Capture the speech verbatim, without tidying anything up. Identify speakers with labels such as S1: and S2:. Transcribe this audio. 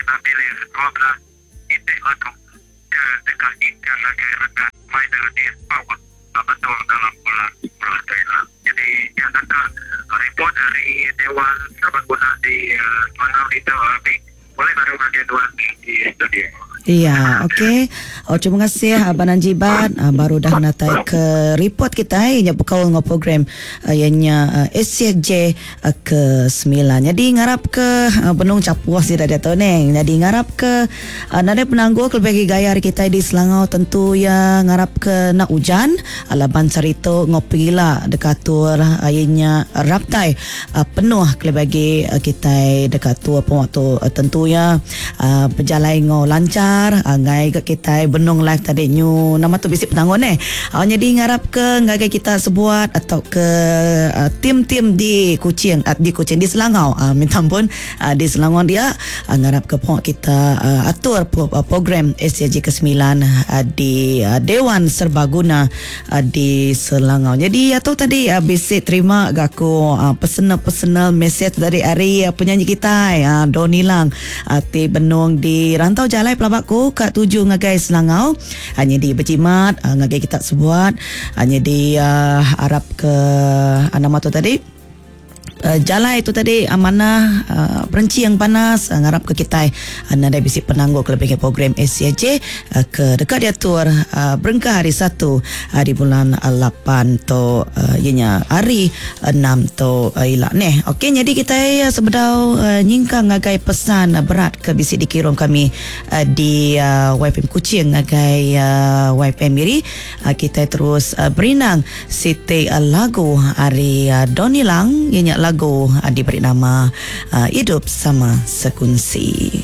S1: kena milih dua belas iti lagu ke deka ingkar ngagai renggat final di Sarawak betul dalam bulan sepuluh tu ila. Jadi nya naka report ari Dewan Serbaguna di Selangau ditu abi pulai baru ngagai nuan di studio.
S2: Iya, okey. Oh, terima kasih Abang Anjibat uh, baru dah natai ke report kita eh, nya bekaul dengan program uh, ianya uh, S C J uh, ke sembilan. Jadi ngarap ke uh, benung capuh sih dah tu neng. Jadi ngarap ke uh, nadai penangguh ke lebih gaya hari kita di Selangau tentu ya ngarap ke nak hujan ala bansar itu ngopi lah dekat tur uh, ianya raptai uh, penuh ke bagi uh, kita dekat tur pun waktu uh, tentu ya uh, berjalan ngau lancar. Ngai ke kita benung live tadi nyu nama tu bisik penanggun eh. Uh, jadi ngarap ke ngagai kita sebuat atau ke uh, tim-tim di Kuching uh, di Kuching di Selangau uh, minta ampun uh, di Selangor dia uh, ngarap ke puak kita uh, atur pro, uh, program S C J ke sembilan uh, di uh, Dewan Serbaguna uh, di Selangau. Jadi atau tadi uh, bisik terima gaku uh, personal-personal message dari hari uh, penyanyi kita uh, Donny Lang uh, ti benung di Rantau Jalai Pelabak ku kat tuju ngagai Selangau hanya di berjimat uh, ngagai kita sebuat hanya di uh, Arab ke uh, nama tu tadi Uh, jalai itu tadi amanah uh, berenci yang panas uh, ngarap ke kita uh, nadai bisik penangguh ke lebih ke program S C J uh, ke dekat diatur uh, berengkah hari satu hari bulan lapan to uh, ianya hari enam to uh, ilak neh. Okey, jadi kita uh, sebedau uh, nyingkang ngagai pesan uh, berat ke bisik dikirim kami uh, di uh, Y P M Kuching ngagai uh, Y P M Miri uh, kita terus uh, berinang siti uh, lagu hari uh, Donny Lang ianya lagu diberi nama uh, Hidup Sama Sekunsi.